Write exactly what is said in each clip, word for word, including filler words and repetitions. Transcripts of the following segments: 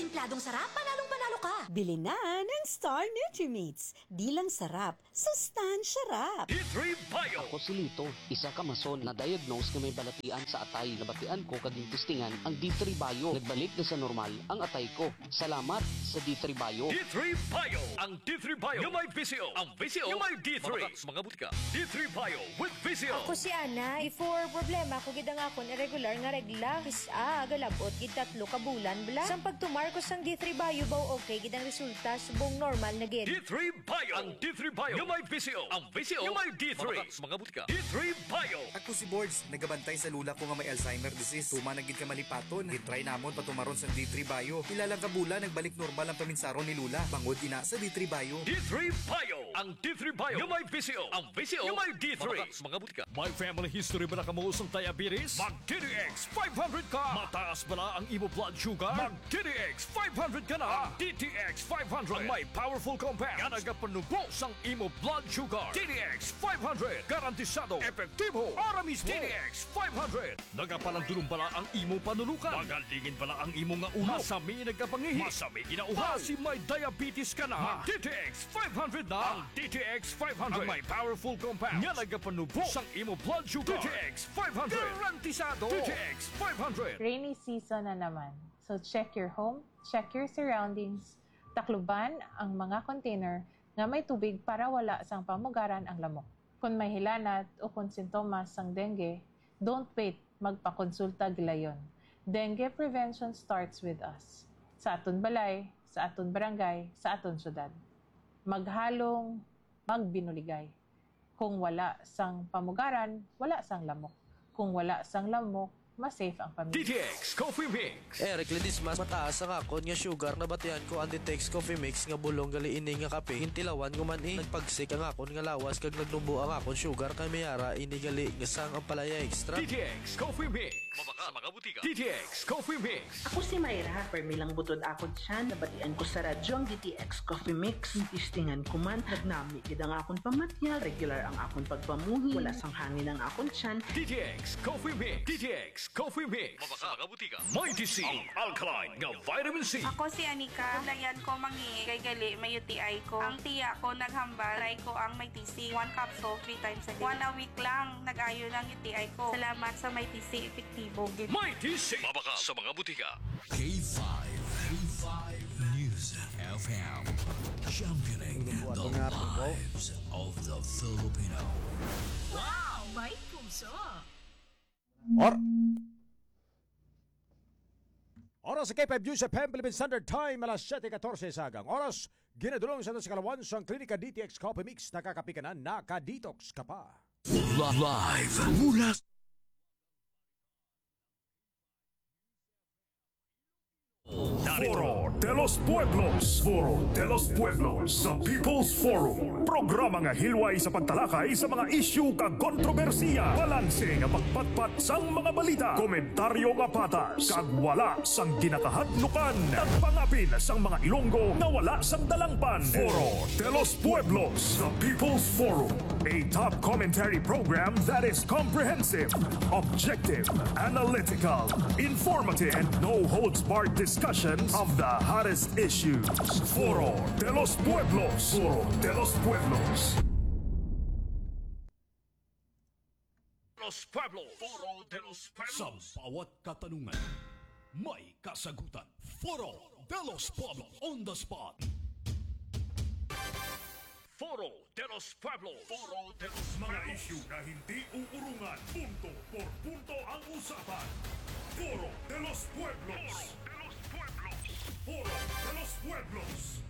Templadong sarap, panalong panalo ka! Bili na ng Star Nutrimates. Di lang sarap, sustansya rap! D three Bio. Ako si Lito, isa ka mason na diagnose nga may balatian sa atay. Nabatian ko kag gintistingan ang D three Bio. Nagbalik na sa normal ang atay ko. Salamat sa D three Bio. D three Bio. Ang D three Bio nga may V C O. Ang V C O nga may D three. Mabakal sa mga butika. D three Bio with V C O. Ako si Ana. Before, problema ko gid ang akon irregular nga regla. Kis-a, galabot gid tatlo ka bulan bala. Sang pagtumar ko sang D three Bio, baw okay gid ang resulta, subong normal na gid. D three Bio. Ang D three Bio nga may V C O. Ang V C O nga may D three. Mabakal sa mga butika. D three Bio. Ako si Bords, nagabantay sa lula ko nga may Alzheimer disease. Tuman na gid ka malipaton. Gintry namon patumaron sa D three Bio. Pila lang ka bulan, nagbalik normal ang paminsaron ni Lula. Bangod ina sa D three Bio. D three Bio. Ang D three Bio nga may V C O. Ang V C O nga may D three. Mabakal sa mga butika. May family history bala kamo sang diabetes? Mag D T X five hundred ka. Mataas bala ang imo blood sugar? Mag D T X five hundred ka na. Ang D T X five hundred ang may powerful compound nga nagapanubo sang imo blood sugar. D T X five hundred, garantisado, epektibo, para mismo. D T X five hundred. Nagapalandulong bala ang imo panulukan? Magalingin bala ang imo nga ulo? Masami nagkapangihi? Masami ginauhaw? Basi may diabetes ka na? Mag D T X five hundred na. Ang D T X five hundred ang may powerful compound nga nagapanubo sang imo blood sugar. D T X five hundred. Garantisado. D T X five hundred. Rainy season na naman. So check your home, check your surroundings. Takluban ang mga container nga may tubig para wala sang pamugaran ang lamok. Kon may hilanat o kon sintomas sang dengue, don't wait, magpakonsulta gilayon. Dengue prevention starts with us. Sa aton balay, sa aton barangay, sa aton syudad. Maghalong, magbinuligay. Kung wala sang pamugaran, wala sang lamok. Kung wala sang lamok, mas safe ang pamilya. D T X Coffee Mix. Eric Ledesma, mataas ang akon nga sugar. Nabatian ko ang D T X Coffee Mix nga bulong gali ini nga kape. Gintilawan ko man, eh. Nagpagsik ang akon nga lawas kag nagnubo ang akon sugar, kay may ara ini gali nga sang Ampalaya Extra. D T X Coffee Mix. Mabakal sa mga butika. D T X Coffee Mix. Ako si Myra, permi lang butod akon tiyan. Nabatian ko sa radyo ang D T X Coffee Mix. Gistingan ko man, nagnami gid ang akon pamatiag, regular ang akon pagpamuhi, wala sang hangin ang akon tiyan. D T X Coffee Mix. D T X Coffee Mix. Mabakal sa mga butika. Mighty C, ang alkaline nga vitamin C. Ako si Anika. Nabatian ko mangihi kay gali may U T I ko. Ang tiya ko naghambal, try ko ang Mighty C. One capsule, three times a day. One a week lang, nag-ayo na ang U T I ko. Salamat sa Mighty C, epektibo gid. Mighty C. Mabakal sa mga butika. K five, K five News F M, championing the lives of the Filipino. Wow! May puso! Or-, oras sa K five News F M Philippine Standard Time, alas siyete katorse sa agang oras. Ginadulong sa aton sa kalawan sang Klinika D T X Coffee Mix. Nakakape ka na, naka-detox ka pa. Li-, live mula sa Foro de los Pueblos. Foro de los Pueblos, the People's Forum. Programa nga hilway sa pagtalakay sa mga isyu kag kontrobersiya. Balanse nga pagpatpat sang mga balita. Komentaryo nga patas kag wala sang ginakahadlukan. Nagpangapin sang mga Ilonggo nga wala sang dalangpan. Foro de los Pueblos, the People's Forum. A top commentary program that is comprehensive, objective, analytical, informative, and no holds barred discussions of the hottest issues. Foro de los Pueblos. Foro de los Pueblos. Los Pueblos. Foro de los Pueblos. Sa bawat katanungan, may kasagutan. Foro de los Pueblos on the spot. Foro de los Pueblos. Foro de los Pueblos. Mga isyu na hindi uurungan. Punto por punto ang usapan. Foro de los Pueblos. Foro de los Pueblos. Foro de los Pueblos.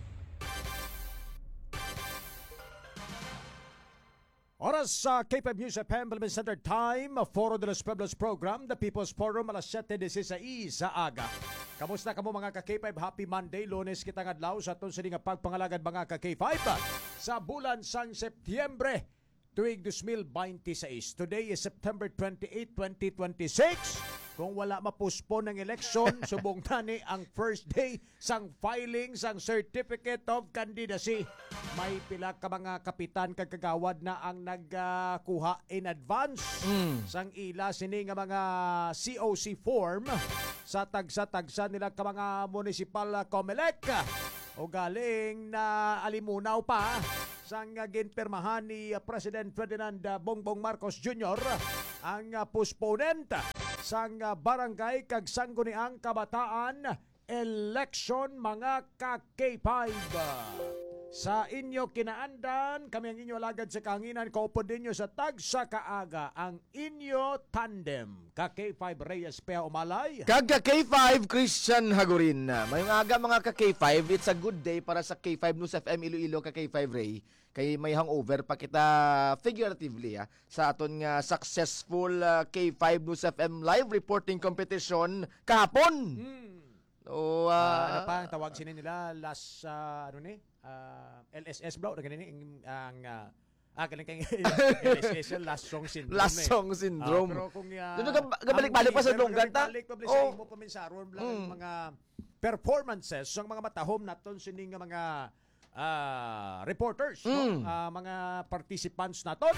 Oras sa K five News F M, Philippine Standard Time, Foro de los Pueblos Program, The People's Forum, alas siyete dieciséis sa aga. Kamusta kamo, mga ka-K five? Happy Monday, Lunes kita nga adlaw sa aton sini nga pagpangalagad, mga ka-K five, sa bulan sang Setyembre, tuig dos mil bente seis. Today is September twenty-eight, twenty twenty-six. Kung wala ma-postpone ang eleksyon, subong na ni ang first day sang filing sang Certificate of Candidacy. May pila ka mga kapitan kag kagawad na ang nagkuha in advance Mm. sang ila sini nga mga C O C form. sa tagsa-tagsa nila ka mga municipal, ah, Comelec. O galing na alimunaw pa sang, ah, ginpirmahan ni, ah, President Ferdinand, ah, Bongbong Marcos Junior ang, ah, postponed sang, ah, barangay kag sangguniang kabataan election, mga ka K five. Sa inyo kinaandan, kami ang inyo alagad sa kahanginan, kaupod ninyo sa tagsa ka aga ang inyo tandem, ka K five Reyes Pea Umalay. Kag ka K five Christian Hagurin. Mayong aga, mga ka K five. It's a good day para sa K five News F M Iloilo, ka K five Ray. Kay may hangover pa kita, figuratively, ah, sa aton nga successful, ah, K five News F M live reporting competition kahapon. Hmm. O, Ah, ano ah, pa ang tawag sini nila? Last, ah, ano ni? Ah, L S S, bro, na ganini, ang, ang, ah, ah, galing kay L S S, yan, last song syndrome Last eh. song syndrome. Ah, pero kung, ah, Dito ka, kabalik-balik pa sa ang dunggan, ta? kabalik-balik pa, Oh. Mo paminsaron lang ang Mm. mga performances sang mga matahom naton sini nga mga, ah, reporters, no? Mm. Ah, mga participants naton.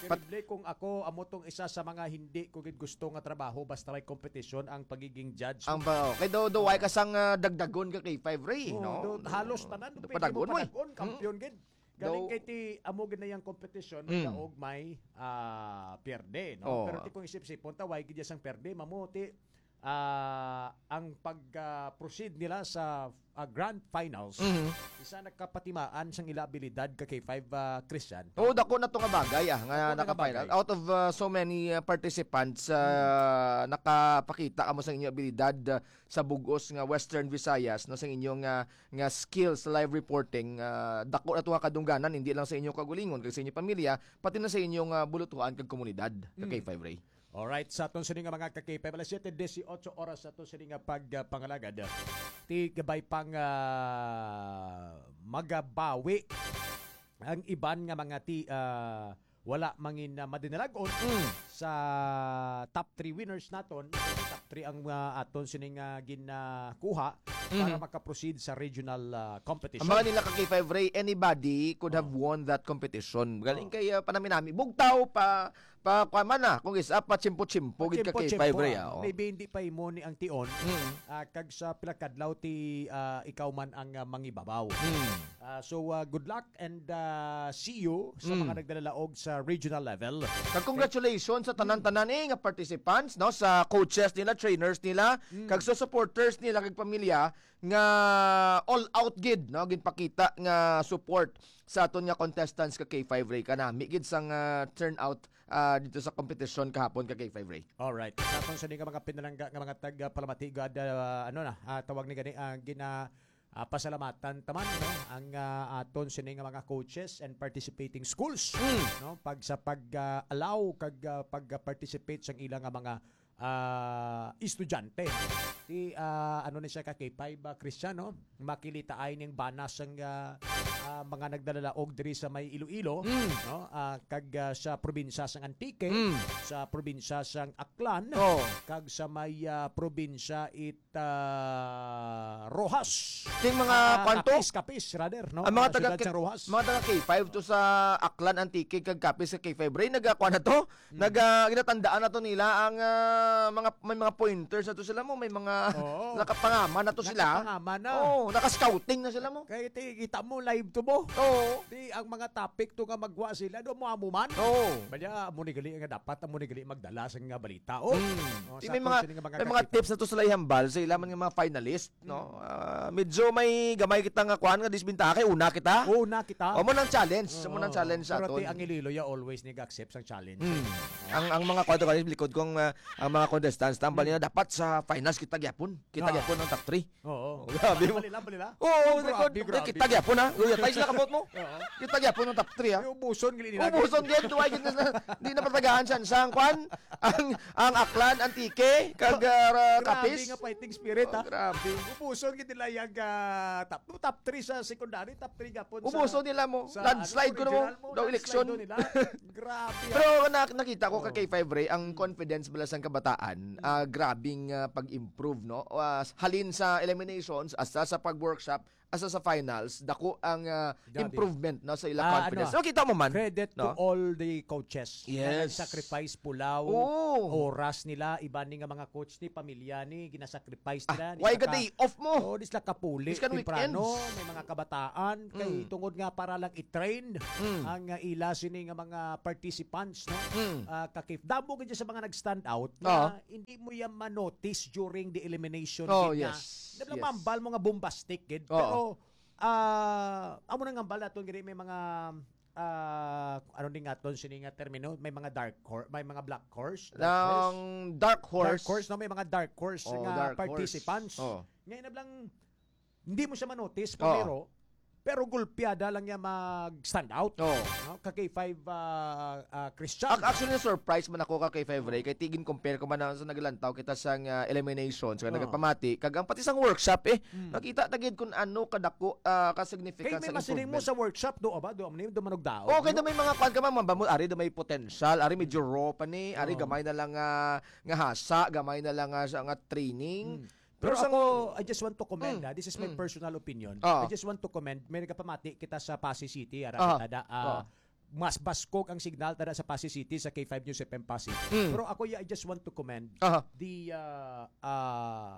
Pat- Posible kung ako, amo tong isa sa mga hindi ko gid gusto nga trabaho basta may competition ang pagiging judge. Ang ba, okay, daw, daw, ay Oo. kasang, ah, dagdagon ka kay Five Ray, Oo, no? do-, halos tanan, Do pwede padagon mo mo, eh. padagon, Mm. kampiyon gid. Galing Daw kay ti, amo gid na yang competition, Mm. daog may, ah, pierde, no? Oo. Pero ti kung isip-sipon, ta, way gid sang pierde, mamo ti, ah, ang pag, ah, proceed nila sa, ah, grand finals, Mhm. isa nagkapatimaan sang ila abilidad ka kay Five, ah, Christian. Oo, dako na to nga bagay, ah, nga Dako na nga naka-final. bagay. Out of, ah, so many, ah, participants, ah, Hmm. nakapakita kamo sa inyo abilidad, ah, sa bugos nga Western Visayas, no, sa inyong, ah, nga skills sa live reporting. Ah, dako na to nga kadungganan, hindi lang sa inyo kaugalingon kag sa inyong pamilya, pati na sa inyong, ah, bulutuhan kag komunidad, ka Hmm. K five Ray. Alright, sa aton sini nga mga ka-K five, alas siyete dieciocho oras sa aton sini nga pag, ah, pangalagad. Ti gabay pang, ah, magabawi ang iban nga mga ti-, ah, wala mangin, ah, madinalagon Mm. sa top three winners naton. Top three ang, ah, aton sini nga ginakuha para Mm. makaproceed sa regional, ah, competition. Ang mga nila ka K five Ray, anybody could have Oh. won that competition. Galing Oh. kay, ah, panami-nami. Bugtaw pa, pa, kuwan man na. Kung isa, pa chimpo-chimpo, gid ka K five Pachimpo-chimpo, Ray, ah. ah, oh. Maybe hindi pa imo ni ang tion. Mm. Ah, kag sa pila kadlaw ti, ah, ikaw man ang, ah, mangibabaw. Mm. Ah, so, ah, good luck and, ah, see you sa Mm. mga nagdalalaog sa regional level. Kag congratulations sa tanan-tanan, eh, nga participants, no, sa coaches nila, trainers nila, Mm. kag sa supporters nila, kag pamilya nga all out gid, no, ginpakita nga support sa aton nga contestants ka K five Ray. Kanami gid sang, ah, turnout, ah, dito sa kompetisyon kahapon ka K five Ray. Alright. Sa aton sa nga mga pinalangga nga mga tag-, ah, palamati, God, ah, ano na, ah, tawag ni gani, ah, gina-, ah, pasalamatan taman, no, ang, ah, aton sini nga mga coaches and participating schools, Mm. no, pag sa pag, ah, allow kag, ah, pag, ah, participate sa ila nga mga, ah, estudyante. Ti, ah, ano ni siya ka K five, ah, Christian, no? Makilitaay ning bana sang, ah, ah, mga nagdalalaog diri sa may Iloilo, Mm. no? Ah, kag, ah, sa probinsya sang Antique, Mm. sa probinsya sang Aklan, Oh. kag sa may, ah, probinsya it, ah, Roxas. Ting mga Ah, kwanto? Capiz, Capiz, rather, no? Ang mga Ah, taga siyudad K-, sa Roxas. mga taga K five to sa Aklan, Antique, kag Capiz sa K five Ray, nagakuan na to? Mm. Nag, ah, ginatandaan na to nila ang, ah, mga, may mga pointers na to sila mo, may mga Oo. nakapangaman na to sila. Nakapangaman na. Oo, naka-scouting na sila mo. Kay ti-, kita mo, live to mo. Oo. Di ang mga topic to nga magwa sila, do mo amo man. Oo. Banya, amo ni gali nga dapat, amo ni gali magdala sa nga balita. Oh. Mm. Oh, Di sa may aton mga, sini nga mga may mga kakita. tips na to sila ihambal sa ila man nga mga finalist, no? Mm. Ah, medyo may gamay kita nga kuan nga disbentaha kay una kita. Una kita. Amo nang challenge, amo nang Oo. challenge sa Pero ti aton. ang Iloilo ya always nag-accept sang challenge. Mm. Ang, ang mga kuan to, likod kong, ah, ang mga contestants, tambal Mm. nila dapat sa finals kita gyapon. Kita Ah. gyapon ang top three. Oo. Oh, grabe mo. Bali lang, bali lang. Oo, Grabe, likod, grabe. kita gyapon, ha? Uy, atay sila kamot mo. Oo. Kita gyapon ang top three, ha? Ay, ubuson, gili nila. Ubuson din, duway gid na, di na patagaan siya. Sang kwan, ang, ang Aklan, Antique, kag, ah, Grabe Capiz. nga fighting spirit, Oh, ha? grabe. Ubuson gid nila yung, ah, top, top three sa secondary, top three gapon sa, Ubuson nila mo. sa, Landslide ano, ko na mo. regional mo, Daw landslide eleksyon. daw nila. Grabe, ha? Pero na-, nakita ko ka Oh. K five Ray, ang Mm. confidence bala sang kabataan, Mm. ah, grabing, ah, pag-improve, no? Ah, halin sa eliminations, hasta sa pag-workshop, asa sa finals, dako ang, ah, Dati. improvement, no, sa ila Ah, confidence. ano, So, kita mo man, credit to no? all the coaches na Yes. nag-sacrifice pulaw, Oo. oras nila, iban ni nga mga coach ni, pamilya ni, ginasacrifice Ah, nila, ni why sa ka ka-, day off mo? oh, di sila kapuli, This kan temprano, weekends. may mga kabataan, kay Mm. tungod nga para lang i-train Mm. ang, ah, ila sini nga mga participants, no? Mm. Ah, kakif-, damo gid sa mga nag-stand out na Oo. hindi mo yan ma-notice during the elimination Oh, gid na yes. Nablang Yes. mambal mo nga bombastic gid. Oo. Pero, ah, amo nang hambal naton gid may mga, ah, ano ni nga ton sini nga termino, may mga dark horse, may mga black horse, dark horse. Ang dark Dark horse. horse, no? May mga dark horse Oh, nga dark horse. participants. Oh. Ngayon nablang, hindi mo siya ma-notice, Oo. pero, pero gulpiada lang niya mag-stand out. Oo. No? Ka K five, ah, ah, Christian. Ac-, actually, na-surprise man ako ka K five Ray, kay tigin compare ko man na sa naglantaw kita sang, ah, eliminations, nga Oo. nagapamati, kag ang pati sang workshop, eh, Mm. nakita ta gid kung ano kadako, ah, ka Kay significance may sa masiling mo improvement. sa workshop, do ba? Do, do manugdaog, Oh, kay no? na may mga kwan ka man, mabamo, ari do may potential, ari medyo raw pa ni, ari Oo. gamay na lang nga, nga hasa, gamay na lang nga, sa, nga training. Mm. Pero Pero sang ako, I just want to commend, Mm. ah, this is my Mm. personal opinion. Ah. I just want to commend, may nagapamati kita sa Passi City, ara Ah. kita da, ah, Ah. mas baskog ang signal tada sa Passi City sa K five News F M Passi. Mm. Pero ako, yeah, I just want to commend Aha. the, ah, ah,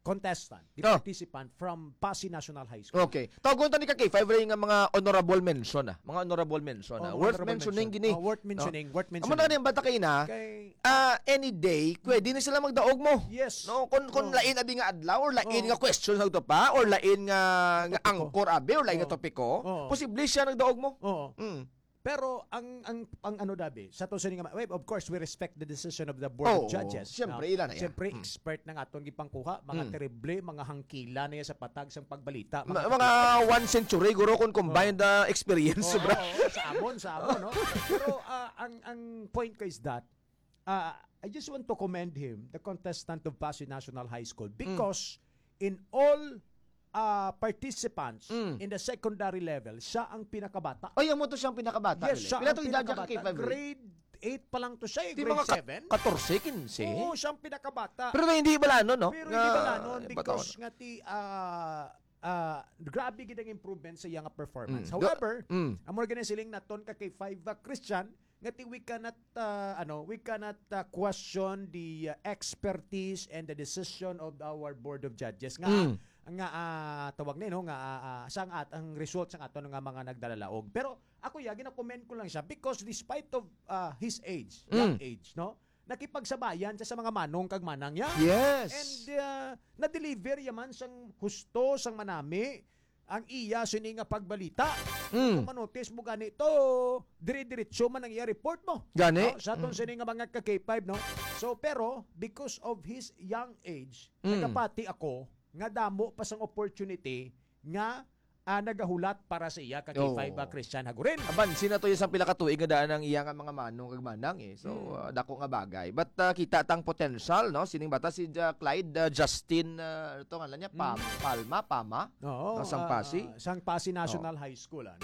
contestant, the Ah. participant from Passi National High School. Okay. Tawgon ta ni ka K five Ray nga mga honorable mention, ah. Mga honorable mention, ah. Oh, Worth honorable mentioning mention. gini. Oh, worth No? mentioning, worth Amo na mentioning. ni ang bata kay na, Kay Ah, any day, pwede na sila magdaog mo. Yes. No, kung, kung Oo. lain abi nga adlaw or lain Oo. nga question sa to pa or lain nga, nga Topiko. angkor abi or lain nga Oo. topiko, Oo. posible siya nagdaog mo. Oo. Mm. Pero ang, ang, ang ano, Dabi, sa to sini nga ma-, well, of course, we respect the decision of the Board of Oo, Judges, siyempre, no? ila na yan. Siyempre, Mm. expert na nga atong gipangkuha, mga Mm. terrible, mga hangkila na yan sa patag sang pagbalita, Ma-, mga mga one century, guro, kung combined, Oo. ah, experience, Oo, sobra. oo, sa amon, sa amon, no? Pero, ah, ang, ang point ko is that, ah, I just want to commend him, the contestant of Passi National High School, Mm. because in all, ah, participants Mm. in the secondary level, siya ang pinakabata. Ay, amo to siyang pinakabata, Yes, really? siya Pila ang to edad niya ka pinakabata. K five, eh? Grade eight pa lang to siya, eh, Di grade mga ka-, seven. katorse, kinse? Oo, siya ang pinakabata. Pero hindi balanon, no? Pero Nga, hindi balanon eh, because batawan. nga ti, ah, ah, grabe gid ang improvement sa iyang performance. Mm. However, Mm. amo gani siling naton ka K five, ah, Christian, nga ti we cannot, ah, ano, we cannot, ah, question the, ah, expertise and the decision of our Board of Judges nga, Mm. nga, ah, tawag ni, no, nga, ah, ah, sang at-, ang result sang aton nga mga nagdalalaog. Pero ako, ya, gina-commend ko lang siya because despite of, ah, his age, young Mm. age, no, nakipagsabayan siya sa mga manong kag manang niya. Yes. And, ah, na-deliver ya man sang husto, sang manami ang iya sini nga pagbalita. Mm. Kung manotis mo gani to, dire-diretso man ang iya report mo. Gani. No? Sa aton Mm. sini nga mga ka K five, no? So, pero, because of his young age, Mm. nagapati ako nga damo pa sang opportunity nga, ah, nagahulat para sa iya ka Oo. K five, ah, Christian Hagurin. Abansi na to yung isang pila ka tuig nga daan ang iya nga mga manong kag manang, eh. So, Mm. ah, dako nga bagay. But, ah, kita tang potential, no? Sining bata si Ja-, Clyde, ah, Justin, ah, ito nga lang niya, Pam-, Mm. Palma, Pama, Oo, no? Sang ah, Passi. ah, sang Passi National Oo. High School, ano?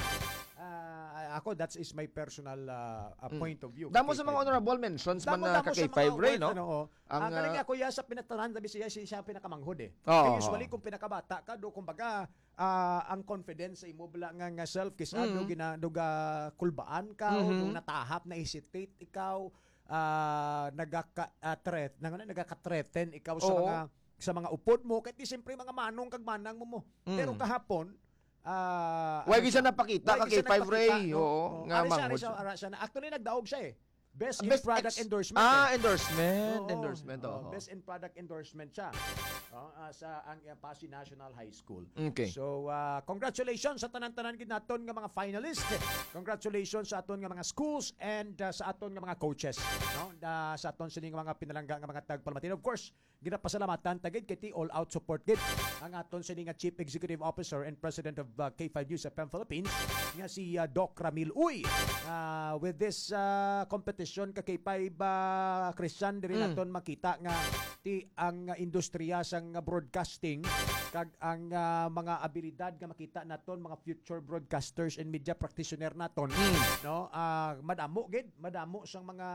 Ah, ako, that is my personal, ah, ah, Mm. point of view. Damo sa mga K five. honorable mentions man Damo, na damo ka sa K five, mga Ray, award, no? ano, oh. Ang, Ang galing ah, ako, ya, sa pinatanan, sabi siya, siya, siya ang pinakamanghod, eh. Oo, Kaya usually, oo. kung pinakabata ka, do, kumbaga, ah, ang confidence sa imo, bala nga, nga self, kis-, ah, do Mm. gina-, do ga kulbaan ka, o Mhm. do natahap, na-hesitate ikaw, ah, nagaka-, ah, threat-, nang-, ano, nagaka-threaten ikaw sa Oo. mga, sa mga upod mo, kahit di siyempre mga manong kag manang mo mo. Mm. Pero kahapon, ah, Why ano gid siya siya? napakita Why ka gid siya K five Ray? nagpakita, no? Oo, Oh, nga ano siya, ano manghod siya, siya. ano siya na, actually, nagdaog siya eh. Best in Best product ex-, endorsement ah, eh. endorsement, Oo. endorsement, Oh, oo. best in product endorsement siya. Oh, ah, sa ang, ah, Passi National High School. Okay. So, ah, congratulations sa tanan-tanan gid naton nga mga finalist. Congratulations sa aton nga mga schools and, ah, sa aton nga mga coaches, no? Da, sa aton sini nga mga pinalangga nga mga tagpalamati. And of course, ginapasalamatan ta gid kay ti all out support gid ang aton sini nga Chief Executive Officer and President of, ah, K five News F M Philippines nga si, ah, Doc Ramil Uy. Ah, with this, ah, competition ka K five, ah, Christian, diri Mm. naton makita nga ti ang, ah, industriya sang broadcasting kag ang, ah, mga abilidad nga makita naton mga future broadcasters and media practitioner naton, Mm. no? Ah, madamo gid, madamo sang mga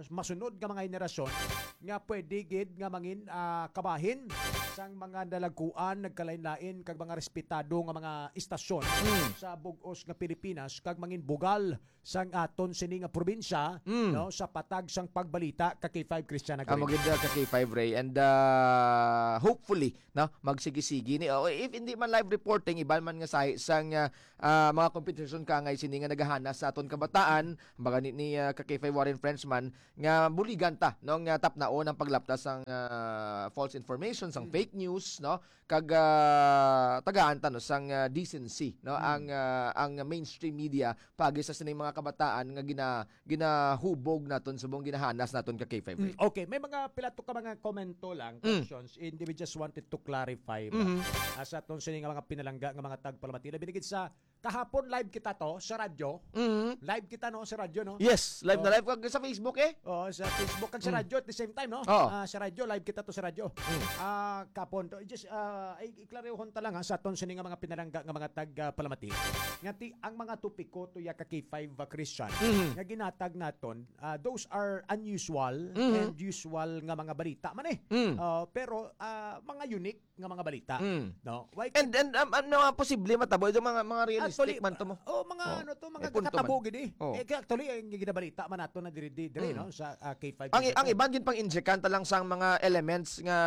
masunod nga mga henerasyon nga pwede gid nga mangin ah, kabahin sang mga nalagkuan, nagkalain-lain kag mga respetado nga mga istasyon Mm. sa bug-os nga Pilipinas kag mangin bugal sang aton sini nga probinsya, Mm. no, sa patag sang pagbalita ka K five Christian Amo Agri. gid, uh, ka K five Ray, and, uh, hopefully, no, magsigi-sigi ni, oh, if hindi man live reporting, iban man nga sahi sang, uh, uh, mga kompetisyon ka nga sini nga nagahanas sa aton kabataan, baga ni, ni, uh, ka K five Warren Frenchman, nga buligan ta, no, nga tapnaon ang paglapta sang, ah, false information, sang Mm. fake news, no, kag, ah, tagaan ta, no, sang, ah, decency, no, Mm. ang, ah, ang mainstream media pagi sa sining mga kabataan nga gina-, ginahubog naton subong ginahanas naton ka K five Mm, Ray. okay, may mga pila to ka mga komento lang, Mm. questions, and we just wanted to clarify ba, Mhm. ah, sa aton sini nga mga pinalangga nga mga tagpalamati. Labi na gid sa kahapon, live kita to sa radyo. Mhm. Live kita, no, sa radyo, no? Yes, live na Oh. live kag sa Facebook, eh. Oo, sa Facebook kag sa Mm. radyo at the same time, no? Oo. Ah, sa radyo, live kita to sa radyo. Mm. Ah, kapon to, just, ah, ay, iklarohon ta lang, ha, sa aton sini nga mga pinalangga nga mga tag, ah, palamati. Nga ti, ang mga topiko to ya ka K five, ah, Christian, Mhm. nga ginatag naton, ah, those are unusual Mhm. and usual nga mga balita man, eh. Mm. Ah, pero, ah, mga unique nga mga balita, Mm. no? Why And, and, um, ano nga posible matabo? Ito mga, mga realistic Actually, man to mo. oh, mga Oh. ano to, mga May punto kakatabo man. gid eh. Oh. Eh, kaya actually, ang ginabalita man nato na diri, diri, diri, Mm. no? Sa, ah, K five Ang, News ang F M. iban gid pang injectant lang sang mga elements nga,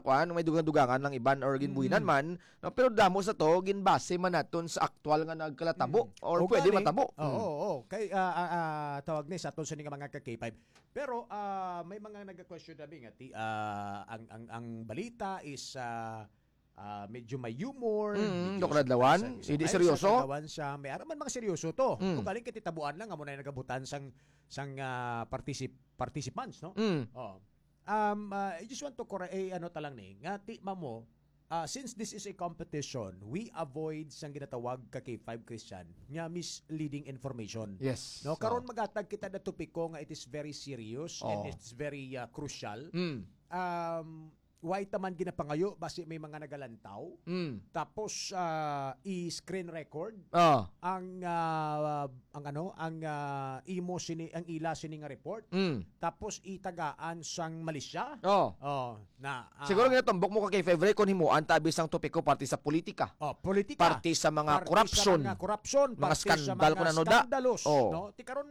kuan, may dugang-dugangan lang iban or ginbuhinan Mm. man, no? Pero damo sa to, ginbase man naton sa aktual nga nagkalatabo Mm. or O pwede gani, matabo. oo, Mm. oo. Kay, ah, ah, ah, tawag ni sa aton sini nga mga ka K five. Pero, ah, may mga nag-question na nga ti, ah, ang, ang, ang balita is, ah, ah, medyo may humor, Mm, medyo Doc Radlawan, sa, sa, hindi ay, seryoso? Sa Radlawan siya, may ara man mga seryoso to. Mm. Kung galing kay titabuan lang, amo na yung nagabutan sang, sang, ah, particip-, participants, no? Mm. Oh. Um, ah, I just want to correct, eh, ano ta lang ni, nga ti, mamo, ah, since this is a competition, we avoid sang ginatawag ka K five Christian nga misleading information. Yes. No, karon Oh. magatag kita na topiko nga it is very serious and Oh. it's very, ah, crucial. Mm. Um, why ta man ginapangayo basi may mga nagalantaw? Mm. Tapos, ah, i-screen record Oh. ang, ah, ang ano, ang, ah, imo sini, ang ila sini nga report. Mm. Tapos itagaan sang Malaysia. Oh. Oh, na, ah, Siguro ginatumbok mo ka K five Ray kung himuan ta abi sang topiko parte sa politika. Oh, politika. Parte sa mga Parte sa korupsyon. mga korupsyon, Mga parte sa skandal mga kung ano da. skandalos, Oh. no? Ti karon,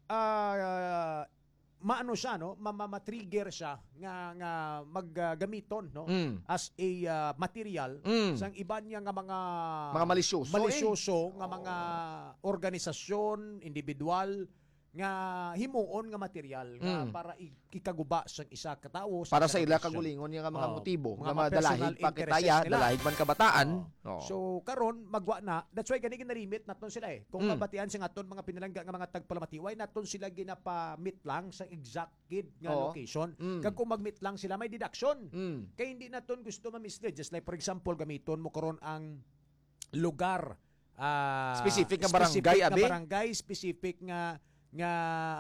ah, maano siya, no? Ma-, ma-, ma-trigger siya nga, nga mag, ah, gamiton, no? Mm. As a, ah, material Mm. sang iban niya nga mga Mga malisyoso, eh. malisyoso nga Oh. mga organisasyon, individual, nga himuon nga material nga Mm. para i-, ikaguba sa isa ka tawo, sa Para isa sa ka ilang organisasyon. kagulingon nga mga Oh, motibo, mga nga mga mga dalahig personal pa kita interests ya, nila. dalahig man kabataan. Oh. Oh. So, karon, magwa na. That's why gani ginalimit naton sila, eh. Kung Mm. mabatian sa aton mga pinalangga nga mga tagpalamati, why naton sila ginapamit lang sa exact gid nga Oo. location? Mm. Kag kung mag-meet lang sila, may deduction. Mm. Kay hindi naton gusto ma-mislead. Just like, for example, gamiton mo karon ang lugar, ah, Specific nga specific barangay, nga abi? barangay, specific nga, nga,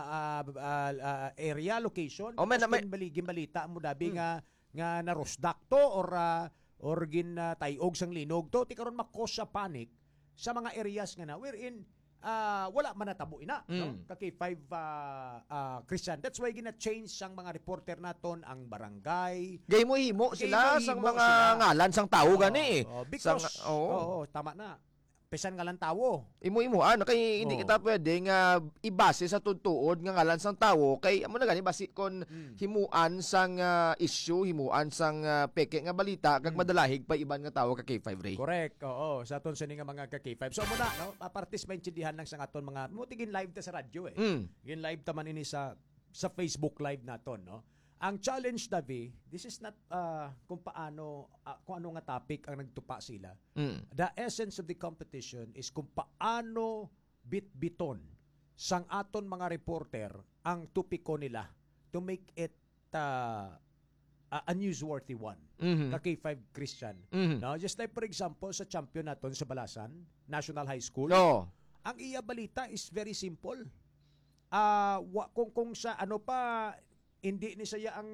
ah, ah, ah, area, location. Oh, may Tapos na, may ginbali-, ginbalita mo dabi Hmm. nga, nga narusdak to or, ah, or gin, ah, tayog sang linog to. Ti karon ma-cause sa panic sa mga areas nga na wherein, ah, wala man natabo ina, no? Mm. Ka K five, ah, ah, Christian. That's why gina-change sang mga reporter naton ang barangay. Gay mo himo sila Gay mo sang himo mga sila. ngalan sang tawo Oo, gani. oo, Sang, because, oo. oo, tama na. Pesan ngalan tawo. Imo-imo, ano, kay hindi Oo. kita pwede nga ibase sa tutuod nga ngalan sang tawo, kay amo na gani, basi kon Mm. himuan sang, ah, issue, himuan sang, ah, peke nga balita, kag Mm. madalahig pa iban nga tawo ka K five Ray. Correct, oo. Sa aton sini nga mga ka K five. So, muna, no? Ah, partis maintindihan lang sa aton mga, mo tigin live ta sa radyo, eh. Mm. Gin live ta man ini sa, sa Facebook Live naton, no? Ang challenge, Davi, this is not, ah, kung paano, ah, kung ano nga topic ang nagtupa sila. Mm. The essence of the competition is kung paano bitbiton sang aton mga reporter ang topiko nila to make it, ah, ah, a newsworthy one. Mhm. Ka K five Christian. Mhm. No? Just like, for example, sa champion naton sa Balasan, National High School, Oo. ang iya balita is very simple. Ah, wa-, kung, kung sa ano pa, hindi ni saya ang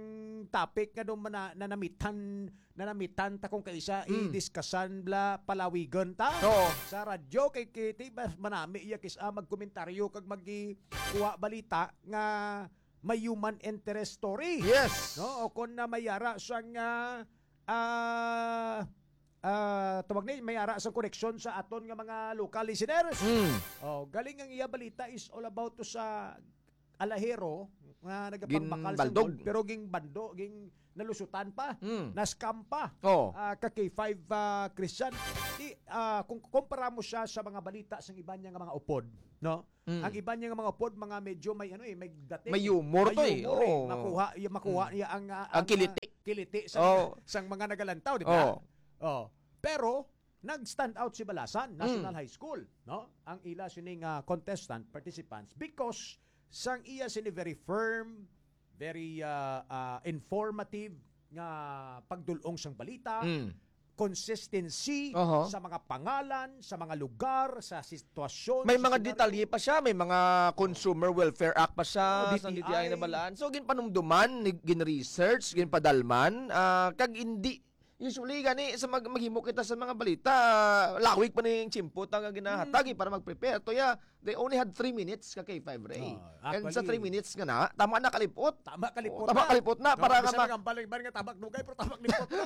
topic nga doon mana-, nanamitan, nanamitan ta kung kaisa, Mm. i-discussan bla, palawigan ta. Oo. Sa radyo, kay Kitty, mas manami iya kis-, ah, magkomentaryo kag magkuha balita nga may human interest story. Yes. No? O kung na may ara sang, ah, ah, ah, tawag ni, may ara sang koneksyon sa aton nga mga local listeners. Mm. Oh, galing ang iya balita is all about to sa alahero nga nagapangbakal sa Ginbaldog. Gold, pero ging bando, ging nalusutan pa, Mm. na-scam pa. Oh. Ah, ka K five, ah, Christian. Di, ah, kung kumpara mo siya sa mga balita sang iban niya nga mga upod, no? Mm. Ang iban niya nga mga upod, mga medyo may ano eh, may dating, May humor may to eh. humor eh. Oo. Makuha, y-, makuha Mm. niya ang, ah, Ang ang, kiliti. ah, kiliti sa Oo. mga, sang mga nagalantaw, di ba? Oo. Oh. Pero nag-stand out si Balasan National Mm. High School, no? Ang ila sining, ah, contestant, participants, because sang iya sini very firm, very, ah, ah, informative nga pagdul-ong sang balita, Mm. consistency Oho. sa mga pangalan, sa mga lugar, sa sitwasyon, May sa mga senaryo. detalye pa siya, may mga Consumer Welfare Act pa siya, Oh, sa D T I. D T I nabalaan. So, ginpanumduman, ni-, gin-research, ginpadalman, ah, kag hindi, usually gani, sa mag-, maghimo kita sa mga balita, ah, lawig pa ning tiyempo ta nga ginahatag, Mm. eh, para mag-prepare. Toya, they only had three minutes ka K five, Ray. Oh, And sa actually, three minutes nga na, tama na kalipot. Tama kalipot Oh, tama na. kalipot na, No, para nga bisan ma- ang baliban nga tama dugay, pero tama kalipot na.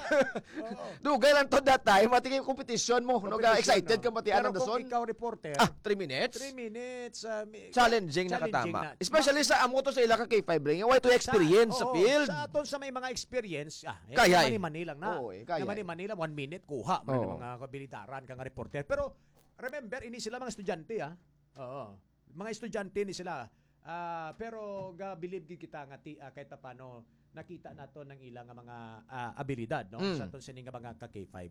Oo. Dugay lang to that time, mati kay competition mo, no, ga Competition, excited no? ka mati Pero anang kung dason. ikaw reporter, Ah, three minutes? three minutes, ah, mi-, Challenging na challenging katama. na. Especially sa amo to sa ila ka K five, Ray, nga way to experience sa Oo, field. sa aton sa may mga experience, ah, eh, Kaya, eh. mani-mani lang na. Oo, eh, kaya, Na mani-mani lang, one minute, kuha man Oo. ang mga kabilidaran ka nga reporter. Pero, remember, ini sila mga estudyante, ah. Oo. Mga estudyante ni sila. Ah, pero ga-believe gid kita nga ti-, ah, kahit paano nakita nato ng ilang mga, ah, abilidad, no? Mm. Sa aton sini nga mga ka K five.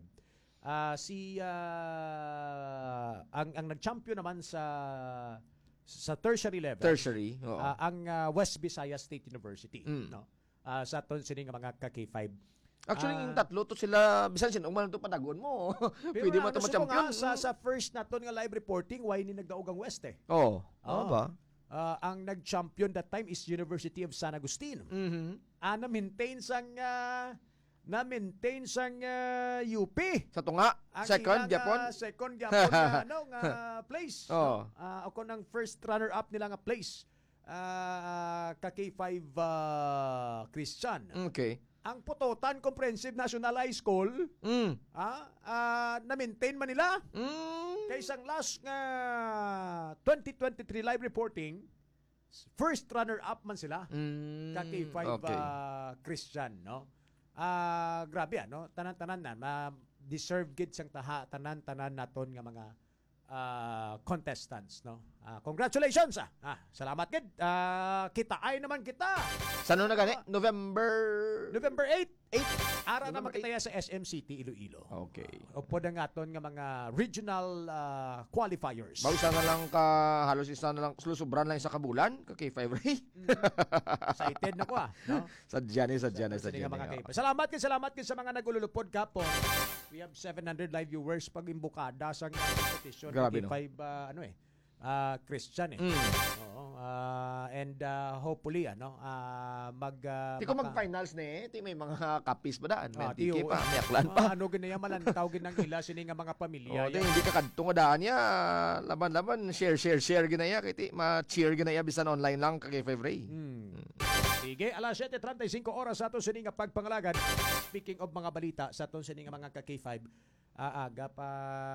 Ah, si, ah, ang, ang nag-champion naman sa, sa tertiary level, Tertiary, oo. ah, ang, ah, West Visayas State University, Mm. no? Ah, sa aton sini nga mga ka K five. Actually, Ah. yung tatlo to sila, bisan sino man to padagon mo. Pero Pwede na, man to ano, suko ma-champion. nga, sa, Mm. sa first naton nga live reporting, why ni nagdaog ang West eh? Oo. Oo. Oo ba? Ah, ang nag-champion that time is University of San Agustin. Mhm. Ah, na-maintain sang, ah, na-maintain sang, ah, U P. Sa tunga, Ang second ilang, gyapon? ah, second gyapon nga, ano, nga place, Oo. no? Ah, o kung ang first runner-up nila nga place, ah, ka K five, ah, Christian. Okay. Ang Pototan Comprehensive National High School, Mm. ah, ah, na-maintain man nila. Mm. Kay sang last nga twenty twenty-three live reporting, first runner-up man sila. Mm, Ka K five, okay. ah, Christian, no? Ah, grabe, ano? Tanan-tanan na, ma-, deserve gid sang taha, tanan-tanan naton nga mga, ah, contestants, no? Ah, congratulations, ah. Ah, salamat gid. Ah, kita ay naman kita. Sa ano na gani? Ah, November November eight. Eight. Ara Ano naman ba, kita eight? ya sa S M City, Iloilo. Okay. Upod ang aton nga mga regional, ah, qualifiers. Bausa na lang ka, halos isa na lang, sulusubran lang isa ka bulan, ka K five Ray. Mm. Excited na ko, ah, no? Sadya ni, sadya ni, Sa sadya mga ni, K five. oh. Salamat kay, salamat kay sa mga nagululupod kapon. We have seven hundred live viewers pag imbukada sa competition Grabe, no? K five, ah, ano eh, ah, Christian eh. Mm. Oo, ah, and, ah, hopefully, ano, ah, mag, ah, Ti kung maka- mag-finals na eh, ti may mga kapis pa daan, Ah, may ti, tiki oo. pa, may aklan Ah, pa. ano gid na yan, malantaw gid ang ila sini nga mga pamilya Oh, yan. Di, hindi ka kadto nga daan niya. Laban-laban, share, share, share gid na iya. Kay ti, ma-cheer gid na iya, bisan online lang, ka K five Ray. Hmm. Hmm. Sige, alas siyete treinta y cinco oras sa aton sini nga pagpangalagad. Speaking of mga balita sa aton sini nga mga ka K five, ah, aga pa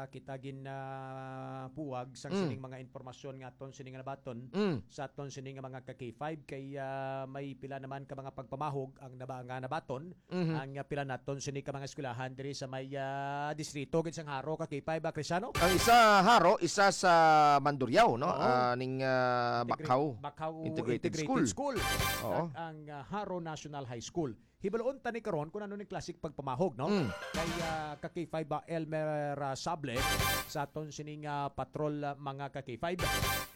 kita gin, ah, puwag sang Mm. sining mga impormasyon nga aton sini nga nabaton Mm. sa aton sini nga mga ka K five kay, ah, may pila naman ka mga pagpamahog ang naba-, nga nabaton Mhm. ang, ah, pila naton sini ka mga eskwelahan diri sa may, ah, distrito gid sang Jaro ka K five, ah, Cristiano? Ang isa Jaro, isa sa Mandurriao, no? Oo. Ah, ning, ah, Integra-, Bacaw Bacaw Integrated Integrated School. School. Oo. Kag ang, ah, Jaro National High School. Hibaluon ta ni karon kung ano ni klaseng pagpamahog, no? Mm. Kay, ah, ka K five, ah, Elmer, ah, Sable sa aton sining, ah, patrol, ah, mga ka K five.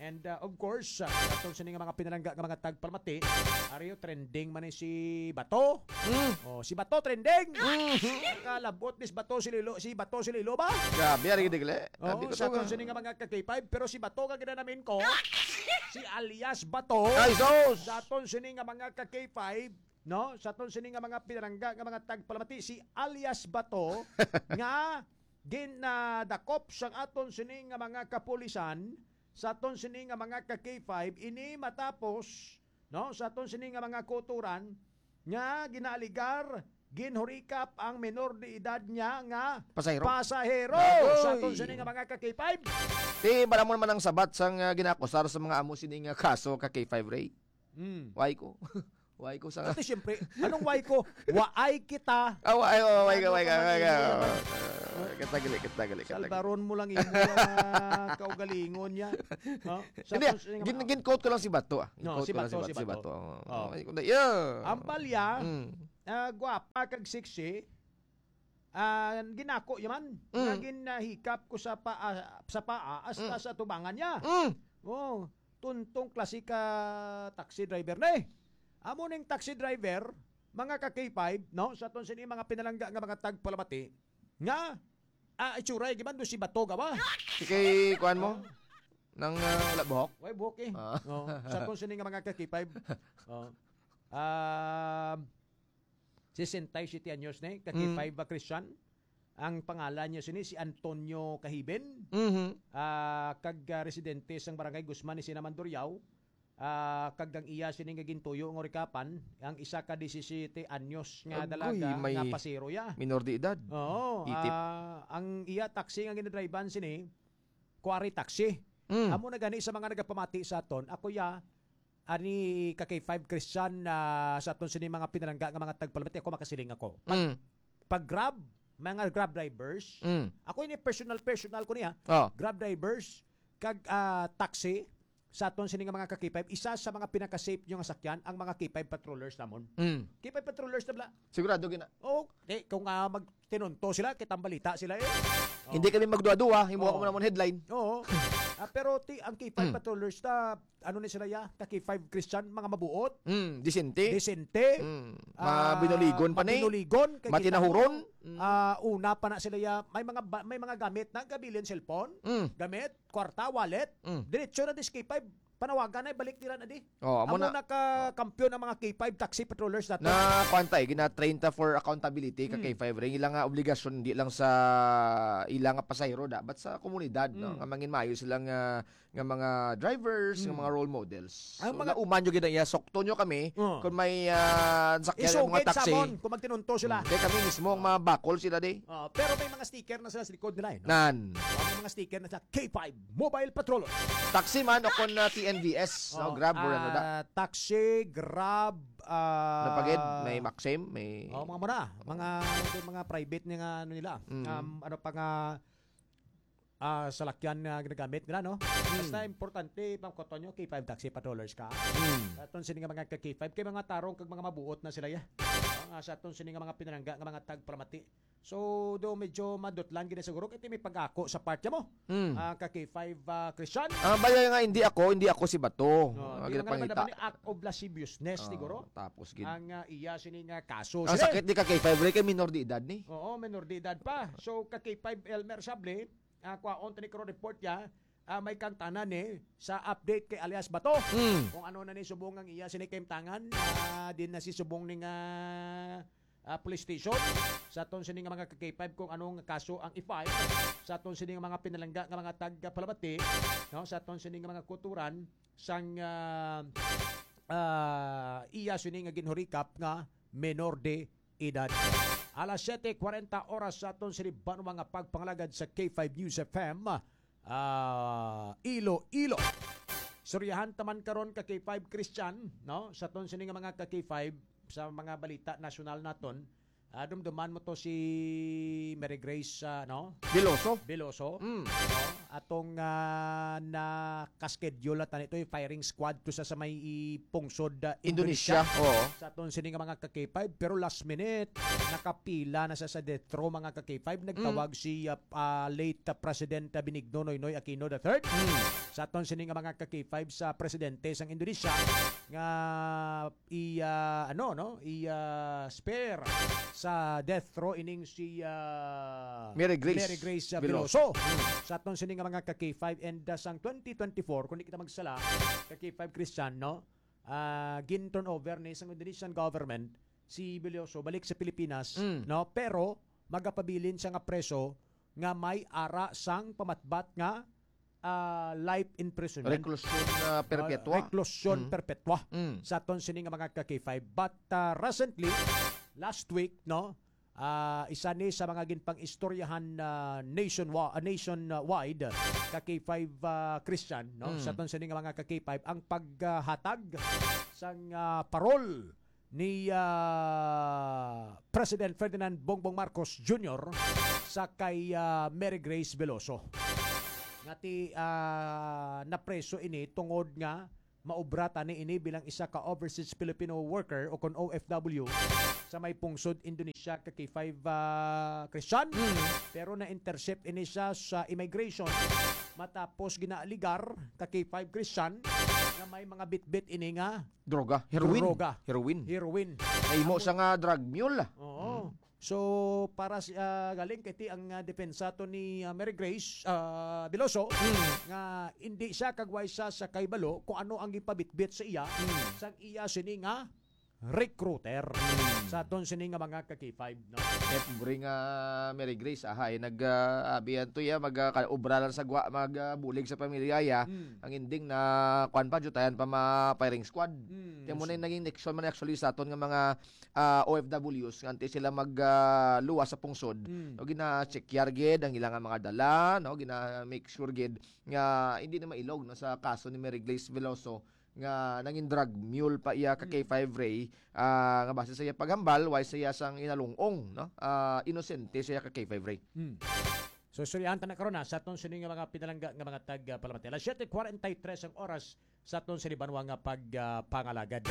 And, ah, of course, ah, sa aton sining mga pinalangga nga mga tagpalamati, ariyo trending man ni si Bato. Mm. Oh, si Bato trending. Mm. Kalabot ni si Bato si Lilo, si Bato si Lilo ba? Grabe, ari digli. Oo, Abi ko sa to aton nga. sining mga ka K five, pero si Bato ka ginanamin ko, si alias Bato. Ay, sus! Sa aton sining mga ka K five, no? Sa aton sini nga mga pinalangga nga mga tagpalamati, si alias Bato nga ginadakop sang aton sini nga mga kapulisan, sa aton sini nga mga ka K five, ini matapos no, sa aton sini nga mga kautoran nga ginaaligar ginhurikap ang menor de edad niya nga Pasahero. pasahero Agoy! sa aton sini nga mga ka-K five. Ti, maramon man ang sabat sang, ah, ginakusar sa mga amo sini nga kaso ka K five Ray. Mm. Why ko? Why ko sa Kasi siyempre, anong why ko? Waay kita. Ah, why, oh, why ka, Ano why ka, ka why ka? man, Oh, kita gali, kita gali, kita gali. Salbaron mo lang imo yung, ah, kaugalingon niya. No? Sa Hindi, ah, aton sini nga gin-, mga gin-quote ko lang si Bato, ah. No, Gin-quote si ko lang si Bato, Bato, si si Bato. Bato. Oh. Oh, ay, kundi, yeah. Ang palya, Mm. ah, gwapa kag sexy, ah, ginako yaman. Mm. Nga ginahikap ko sa pa-, ah, sa paa hasta Mm. sa tubangan niya. Mm. Oh, tuntong klase ka taxi driver na eh. Amo ning taxi driver, mga ka K five, no? Sa aton sini mga pinalangga nga mga tagpalamati, nga, ah, itsuray, gimando si Bato gawa. Si kay kuan mo? Nang, ah, wala buhok? Way buhok eh. Ah. Oh, sa aton sini nga mga ka K five. Oh. Um, sesenta y siete anyos ni, ka Mm. K five ba Christian? Ang pangalan niya sini si Antonio Kahiben. Mhm. Ah, kag, ah, residente sang Barangay Guzman ni Sinaman, Duriao. Ah, kag ang iya sini nga gintuyo nga rikapan, ang isa ka disisiete anyos nga Agoy, dalaga may nga pasero ya. minor de edad. Oo, Itip. ah, ang iya taxi nga ginadrivean sini, Quarry Taxi. Mm. Amo na gani sa mga nagapamati sa aton, ako ya, ani ka K five Christian, ah, sa aton sini mga pinalangga nga mga tagpalamati, ako makasiling ako. Pag, Mm. pag Grab, mga Grab drivers, Mm. ako ini personal, personal ko niya. Oh. Grab drivers, kag, ah, taxi, sa aton sini nga mga ka K five, isa sa mga pinaka-safe nyo nga sakyan, ang mga K five patrollers namon. Mm. K five patrollers na bala. Sigurado gina- Oh, di, kung, ah, magtinunto sila, kitang balita sila eh. Oh. Hindi kami magduwa-duwa, himuha ko Oh. mo namon headline. Oo. Ah, pero ti, ang K five Mm. patrollers na, ano ni sila ya, ka K five Christian, mga mabuot. Mm, disente. Disente. Mm. Ah, Mabinuligon pa ni. mabinuligon, kay kita Matinahuron. mo, Mm. ah, una pa na sila ya, may mga ba-, may mga gamit na, gabilin cellphone, Mm. gamit, kwarta, wallet, Mm. diretso na dis K five, panawagan na, balik nila na di. Oh, amo Amo na. na ka kampiyon ang mga K five taxi patrollers nato. Na, kwan ta, eh, gina-train ta for accountability ka Mm. K five ring. Ila nga obligasyon, di lang sa ila nga pasahero, dapat sa komunidad, no? Mm. Nga mangin maayo sila nga, nga mga drivers, nga Mm. mga role models. Ang So, mga nauman nyo gina-, iya, sokto nyo kami Oh. kung may, ah, sakyan ng mga Isugid taxi. sa amon kung magtinunto sila. Mm. Kaya kami mismo ang mga bakol sila, di. Oh, pero may mga sticker na sila sa likod nila, eh, no? Nan. Oh, may mga sticker na sa K five Mobile Patrol. Taxi man o kon, ah, T N V S, no? Oh, Grab or ano da? ah, taxi, Grab, ah, Napagid, may Maxim, may Oh, mga muna. Mga, mga private nga ano nila. Mm. Um, ano pa nga, ah, salakyan nga ginagamit nila, no? Mm. Basta importante, Ma'am Cotonio, K five taxi patrollers ka. Mm. Sa aton sini nga mga ka K five, kay mga tarong kag mga mabuot na sila, ya. Ah, nga sa aton sini nga mga pinalangga nga mga tagpalamati. So, do medyo madutlan gid siguro kay may pag-ako sa part mo. Mm. Ah, ka K five, ah, Christian. Ah, baya nga, hindi ako, hindi ako si Bato. No, Ah, di nga ginapangita. naman ni act of lasciviousness, Ah, siguro. tapos gid. Ang, ah, iya sini nga kaso. Ang Sige. sakit di ka K five, Ray, kay minor de edad ni. Oo, minor de edad pa. So, ka K five Elmer Sable, ah, kwaon tani ko report ya, ah, may kangtanan ni sa update kay alias Bato. Mm. Kung ano na ni subong ang iya sini kaimtangan, ah, din na si subong ni nga, ah, police station. Sa aton sini nga mga ka K five kung anong kaso ang i-file sa aton sini nga mga pinalangga nga mga tagpalamati, no, sa aton sini nga mga kuturan sang, ah, ah, iya sini nga ginhurikap nga menor de edad. Alas siyete kwarenta oras sa aton sini banwa nga pagpangalagad sa K five News F M, ah, Iloilo. Istoryahan ta man karon ka K five Christian, no? Sa aton sini nga mga ka K five, sa mga balita nasyonal naton, ah, dumduman mo to si Mary Grace, ah, no? Veloso. Veloso. Mm. No? Atong, ah, naka-schedule na tani to, yung firing squad to sa, sa may i-, pungsod, ah, Indonesia. Indonesia. Oo. Sa aton sini nga mga ka K five, pero last minute, nakapila na sa, sa death row, mga ka K five. Nagtawag Mm. si, ah, ah, late, ah, President, ah, Benigno Noynoy Aquino the third. Mm. Sa aton sini nga mga ka K five sa presidente sang Indonesia nga i, ah, ano, no? I, ah, spare sa death row ining si, ah, Mary Grace Mary Grace, ah, Veloso. Veloso. Mm. Sa aton sini nga mga ka K five and, ah, sang twenty twenty-four, kung di kita magsala, ka K five Christian, no? Ah, gin-turn over ni sang Indonesian government si Veloso balik sa Pilipinas, Mm. no? Pero magapabilin siya nga preso nga may ara sang pamatbat nga ah, life imprisonment. Reclusion, ah, perpetua. Ah, reclusion Mm. perpetua Mm. sa aton sini nga mga ka-K five. But, ah, recently, last week, no, ah, isa ni sa mga ginpang-istoryahan, ah, nationwa-, ah, nationwide, ka-K five, ah, Christian, no, Mm. sa aton sini nga mga ka-K five, ang paghatag sang, ah, parol ni, ah, President Ferdinand Bongbong Marcos Junior sa kay, ah, Mary Grace Veloso. Nga ti, ah, napreso ini tungod nga maobra tani ini bilang isa ka overseas Filipino worker o kon O F W sa may pungsod Indonesia ka K five, ah, Christian. Mm. Pero na-intercept ini siya sa immigration matapos ginaaligar ka K five Christian nga may mga bitbit ini nga Droga, heroin. Droga. Heroin. Heroin. Ay mo Amo- sa nga drug mule. Oo. Mm. So, para si, ah, galing kay ti ang, ah, depensa to ni, ah, Mary Grace, ah, Veloso, Mm. nga hindi siya kagway sa, sa kaibalo kung ano ang gipabitbit sa iya, Mm. sang iya sini nga recruiter. Mm. Sa aton sini nga mga ka-K five, no? Eh, pobre nga Mary Grace, ahay, nag, ah, abi yan to ya, mag, ah, ka-, obra lang sa gwa, mag, ah, bulig sa pamilya ya. Mm. Ang ending na, kwan pa, jutayan pa ma firing squad. Mm. Kaya mo na yung naging leksyon man actually sa aton nga mga, ah, O F Ws nga antes sila mag, ah, luwas sa pungsod. Mm. No, gina-check yar gid ang ilang mga dala, no? Gina-make sure gid nga hindi na mailog, no, sa kaso ni Mary Grace Veloso nga nangin drug mule pa iya ka Mm. K five Ray, ah, nga base sa iya paghambal, way sa iya sang inalungong, no? Ah, inosente sa iya ka K five Ray. Mm. So, istoryahan ta na karon, ha, sa aton sini nga mga pinalangga nga mga tag, ah, palamati. Alas siete cuarenta y tres ang oras sa aton sini banwa nga pag, ah, pangalagad.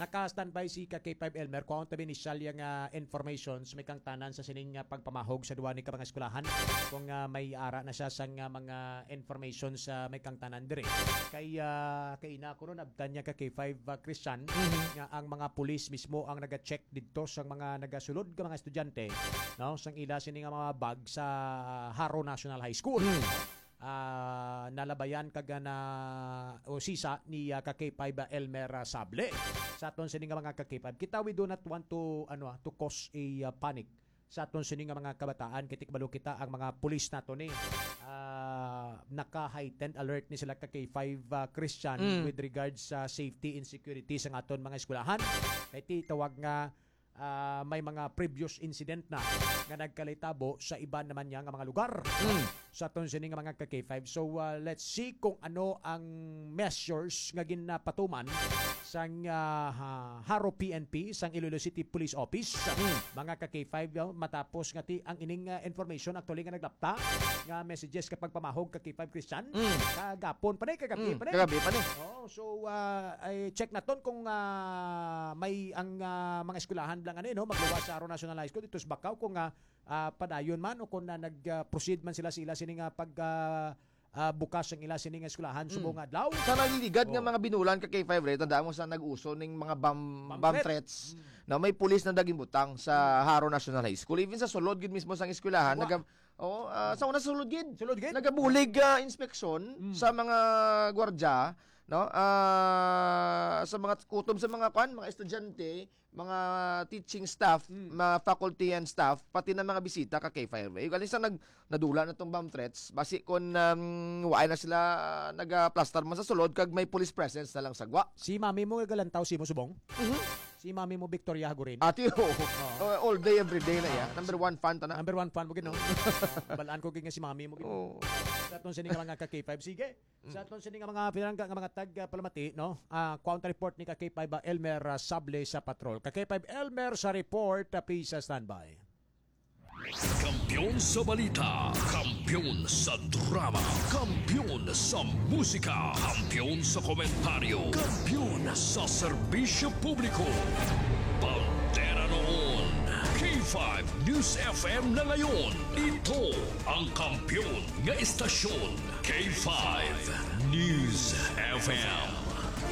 Naka-standby si ka K five Elmer, kuhaon tabi ni siya nga informations, may kang tanan sa sining, ah, pagpamahog sa duwa ni ka mga eskwelahan. Kung, ah, may ara na siya sa nga mga informations sa may kang tanan diri. Kay, ah, kay ina ko nun, abtan niya ka K five, ah, Christian, Mhm. nga ang mga pulis mismo ang naga-check didto sa mga nagasulod nga mga estudyante, no? Sang ila sini nga mga bag sa Jaro National High School. Mm. Ah, nalabayan kag na o sisa ni, ah, ka K five, ah, Elmer, ah, Sable. Sa aton sini nga mga ka K five, kita, we do not want to, ano, ah, to cause a, ah, panic sa aton sini nga mga kabataan. Kay ti kabalo kita ang mga pulis nato ni, ah, naka-heightened alert ni sila ka K five, ah, Christian, Mm. with regards sa safety and security sa aton mga eskwelahan. Kay ti tawag nga ah, may mga previous incident na nga nagkalitabo sa iban naman niya nga mga lugar, no? Mm. Sa aton sini nga mga ka K five. So, ah, let's see kung ano ang measures nga ginapatuman sang, ah, ha-, Jaro P N P, sang Iloilo City Police Office, Mm. mga ka K five, no? Matapos nga ti ang ining, ah, information actually nga naglapta nga messages kapag pamahog ka K five Christian, Mm. kagapon pa ni, kagabi Mm, pa ni. kagabi pa ni. Oo, so, ah, ay check naton kung, ah, may ang, ah, mga eskwelahan lang, ano, eh, no, magluwas sa Jaro National High School dito sa Bacau kung, ah, ah, padayon man o kung na nag, ah, proceed man sila sa ila sini nga pag, ah, ah, bukas ang ila sini nga eskwelahan Mm. subong adlaw. Sa naliligad nga Oh. mga binulan ka K five Ray, tandaan mo sa nag-uso ning mga bomb, Bomb bomb threat. threats. Mm. Na may pulis na naging butang sa Jaro National High School. Even sa sulod gid mismo sang eskwelahan, Wa- naga-, Oo, ah, sa una sulod gid. Sulod gid? Nagabulig, ah, inspeksyon Mm. sa mga gwardya, no? Ah, sa mga kutob sa mga kwan, mga estudyante, mga teaching staff, Mm. mga faculty and staff, pati na mga bisita ka K five. Eh, galing sa nag-, nadula na tong bomb threats, basi kon, um, waay na sila, ah, nagaplastar man sa sulod, kag may police presence na lang sa gwa. Si mami mo nagalantaw si mo subong? Mhm. Si Mami mo, Victoria Hagurin. Ati, oo. Oo. Oh, all day, every day na iya. Number one fan ta na. Number one fan mo gid, no? Balaan ko gid nga si Mami mo gid. Oo. Sa aton sini nga mga ka K five. Sige. Mm. Sa aton sini nga mga pinalangga nga mga tag, ah, palamati, no? Ah, counter report ni ka K five, ah, Elmer, ah, Sable sa patrol. Ka K five Elmer sa report, ah, please, ah, standby. Kampiyon sa balita, kampiyon sa drama, kampiyon sa musika, kampiyon sa komentaryo, kampiyon sa serbisyo publiko. Bandera noon, K five News F M na ngayon. Ito ang kampiyon nga istasyon, K five News F M.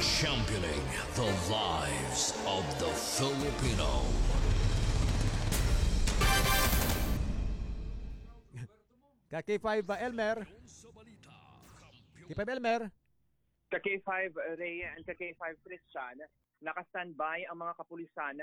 Championing the lives of the Filipino. Ka K five, uh, Elmer. K five Elmer. Ka K five Ray and ka K five Christian, naka-standby ang mga kapulisan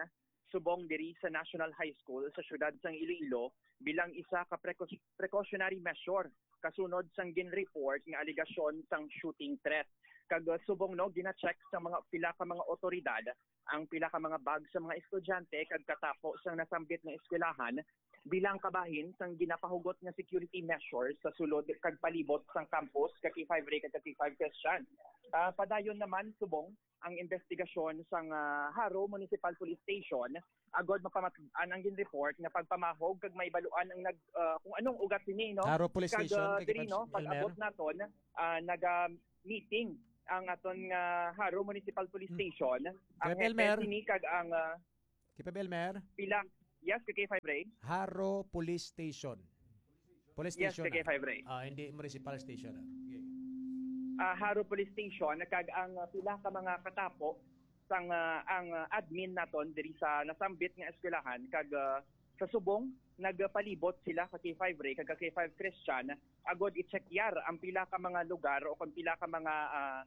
subong diri sa National High School sa siyudad sang Iloilo bilang isa ka precau-, precautionary measure kasunod sang gin-report nga alegasyon sang shooting threat. Kag, uh, subong, no, gina-check sa mga pila ka mga otoridad ang pila ka mga bag sa mga estudyante kag katapo sang nasambit nga eskwelahan bilang kabahin sang ginapahugot nga security measures sa sulod kag palibot sang campus ka K five Ray kag ka K five Christian. Ah, padayon naman, subong, ang investigasyon sang, ah, Jaro Municipal Police Station agod mapamat-an ang gin-report nga pagpamahog kag may baluan ang nag, ah, kung anong ugat sini, no? Jaro Police Kag, Station, ah, kay diri, Pans-, no, Elmer? Pag-abot naton, ah, naga-meeting ang aton nga Jaro Municipal Police Hmm. Station, ang Kay Elmer? hepe sini kag ang, ah, Kay Elmer? pila. Yes, ka K five Ray. Jaro Police Station. Police Yes, Station, ka ah. K five Ray. Ah, hindi Municipal Station, ah. Okay. Ah, Jaro Police Station, kag ang, ah, pila ka mga katapo sang, ah, ang, ah, admin naton diri sa nasambit nga eskwelahan, kag, ah, sa subong, nagpalibot sila ka K five Ray, kag ka K five Christian, agod i-checkyar ang pila ka mga lugar o kung pila ka mga, ah,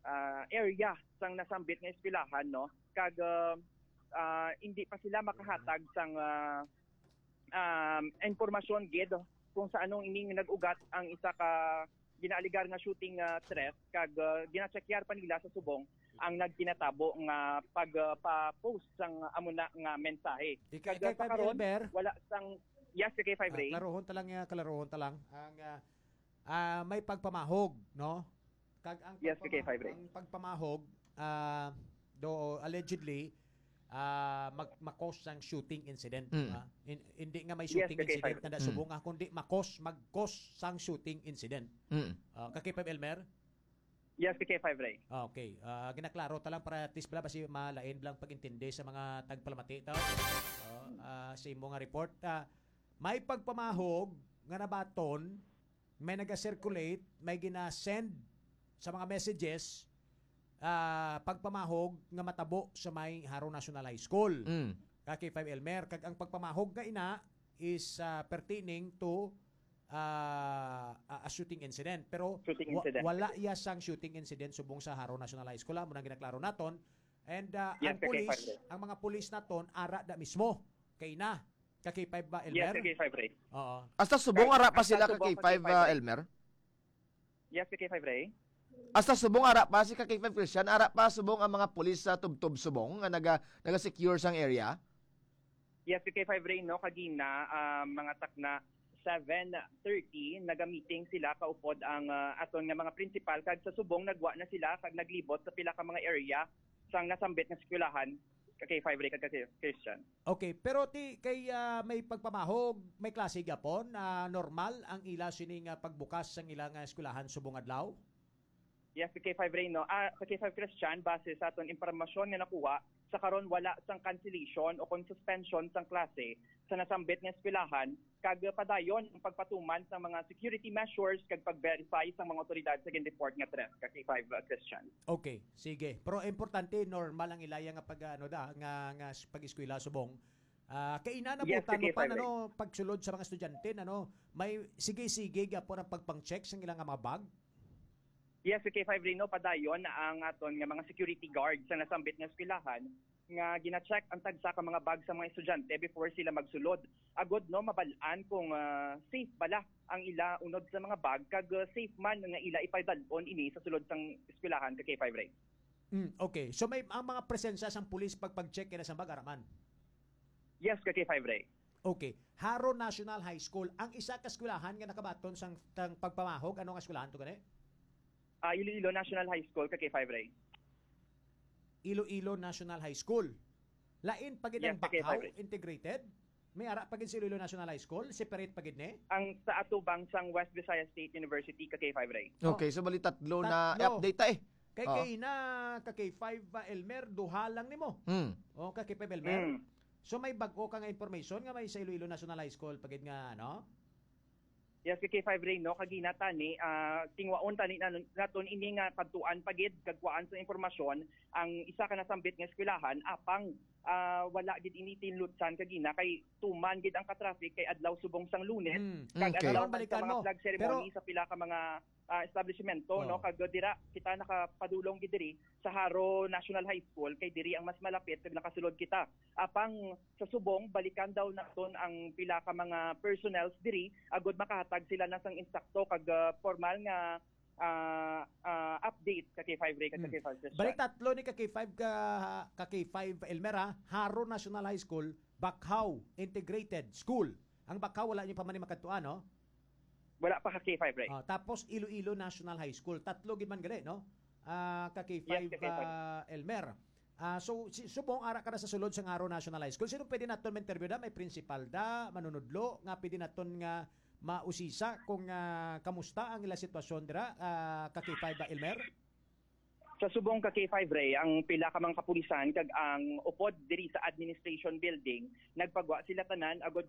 ah, area sang nasambit nga eskwelahan, no? Kag, ah, ah, hindi pa sila makahatag sang, ah, um, impormasyon gid kung sa anong ining nag-ugat ang isa ka ginaaligar nga shooting, ah, threat, kag, ah, gina-checkyar pa nila sa subong ang nagkinatabo nga pag, ah, pa-post sang amo na nga mensahe. Ika-, Kag, ah, ikay pa karon, Elmer? Wala sang, yes, ka K five Ah, Ray. Klarohon ta lang, ah, klarohon ta lang. Ang, ah, ah, may pagpamahog, no? Kag ang Yes, pagpama-, ka K five Ray. ang pagpamahog, ah, do allegedly, ah, mag-, makos sang shooting incident, Mm. ah. In-, hindi nga may Yes, shooting ka K five incident Ray. na Mm. subong, ah, kundi makos, magkos sang shooting incident. Mm. Ah, ka K five Elmer? Yes, ka K five Ray. Okay. Ah, ginaklaro ta lang para at least pala basi malain lang pag-intindi sa mga tagpalamati, tao. Oh, ah, sa imo nga report, ah, may pagpamahog nga nabaton, may naga-circulate, may gina-send sa mga messages, ah, pagpamahog nga matabo sa may Jaro National High School. Mm. Ka K five Elmer, kag ang pagpamahog nga ina is, ah, pertaining to, ah, a, a shooting incident. Pero Shooting wa-, incident. wala iya sang shooting incident subong sa Jaro National High School, ah, amo nang ginaklaro naton. And, ah, Yes, ang ka K five police, Ray. ang mga police naton, ara da mismo kay na. Ka K five ba, Yes, Elmer? ka K five Ray. Oo. Hasta subong Kay-, ara pa hasta sila ka subong ka K five, K five ah, Ray. Elmer? Yes, ka K five Ray. Hasta subong ara pa si ka K five Christian, ara pa subong ang mga pulis sa tubtob subong nga naga-, naga-secure sang area? Yes, ka K five Ray, no, kagina, ah, mga takna seven thirty, naga-meeting sila kaupod ang, ah, aton nga mga principal, kag sa subong nagwa na sila kag naglibot sa pila ka mga area sang nasambit nga eskwelahan, ka K five Ray kag ka Christian. Okay, pero ti kay, ah, may pagpamahog, may klase gyapon, ah, normal ang ila sini nga pagbukas sang ila nga eskwelahan subong adlaw? Yes, ka K five Ray, no. Ah, ka K five Christian, base sa aton impormasyon nga nakuha, sa karon wala sang cancellation o kon suspension sang klase sa nasambit nga eskwelahan, kag padayon ang pagpatuman sang mga security measures kag pag-verify sang mga otoridad sa gin-report nga threat, ka K five, uh, Christian. Okay, sige. Pero importante, normal ang ilaya nga pag, ano da, nga, nga s-, pag-eskwela subong. Ah, kay ina na Yes, butan mo sige, pa, Fire Ray. ano, pagsulod sa mga estudyante, ano, may sige-sige gyapon ang pagpang-check sa ilang mga bag? Yes, ka K five Ray, no, padayon ang aton nga mga security guard sa nasambit nga eskwelahan nga gina-check ang tagsa ka mga bag sa mga estudyante before sila magsulod. Agod, no, mabal-an kung, ah, safe bala ang ila unod sa mga bag kag, ah, safe man nga ila ipadal-on ini sa sulod sang eskwelahan, ka K five Ray. Mm, okay. So may ang mga presensya sang pulis pag pag-check kay na sa bag, ara man? Yes, ka K five Ray. Okay. Jaro National High School, ang isa ka eskwelahan nga nakabaton sang tang pagpamahog, ano nga eskwelahan to gani? Ah, Iloilo National High School, ka K five Ray. Iloilo National High School. Lain pa gid Yes, ang ka K five Bacau Ray. Integrated? May ara pa gid sa Iloilo National High School? Separate pa gid ni? Ang sa atubang sang West Visayas State University, ka K five Ray. Okay, Oh. so bali tatlo na Tatlo. update ta eh. Kay Oh. kay na ka K five, ah, Elmer, duha lang nimo. Hmm. Oh, ka K five Elmer. Hmm. So may bag-o ka nga information nga may sa Iloilo National High School pa gid nga, ano? Yes, ka K five Ray, no, kagina tani, ah, tingwaon tani na, naton ini nga kadtuan pa gid kag kuhaan sa impormasyon ang isa ka nasambit nga eskwelahan, apang ah, wala gid ini tinlutsan kagina kay tuman gid ang ka-traffic kay adlaw subong sang Lunes, Mm, kag okay. adlaw Kailangan balikan sa mga mo. flag ceremony Pero sa pila ka mga, ah, establishmento, Oo. no? Kag dira kita nakapadulong gid diri sa Jaro National High School kay diri ang mas malapit kag nakasulod kita. Apang sa subong, balikan daw naton ang pila ka mga personnels diri agud makahatag sila na sang insakto kag, ah, formal nga, ah, ah, update ka K five Ray kag ka Mm. K five Christian. Bali tatlo ni ka K five ka, ka K five Elmer, ha? Jaro National High School, Bacau Integrated School. Ang Bacau wala niyo pa man ni makadtuan, no? Wala pa ka K five Ray. Ah, tapos Iloilo National High School. Tatlo gid man gali, no? Ah, ka K five, Yes, ka K five. ah, Elmer. Ah, so, si, subong ara ka na sa sulod sa Jaro National High School. Sino pwede naton ma-interview da? May principal da, manunudlo, nga pwede naton nga mausisa kung, ah, kamusta ang ila sitwasyon dira, ah, ka K five ba, Elmer? Sa subong ka K five Ray, ang pila ka mga kapulisan kag ang upod diri sa administration building, nagpagwa sila tanan agud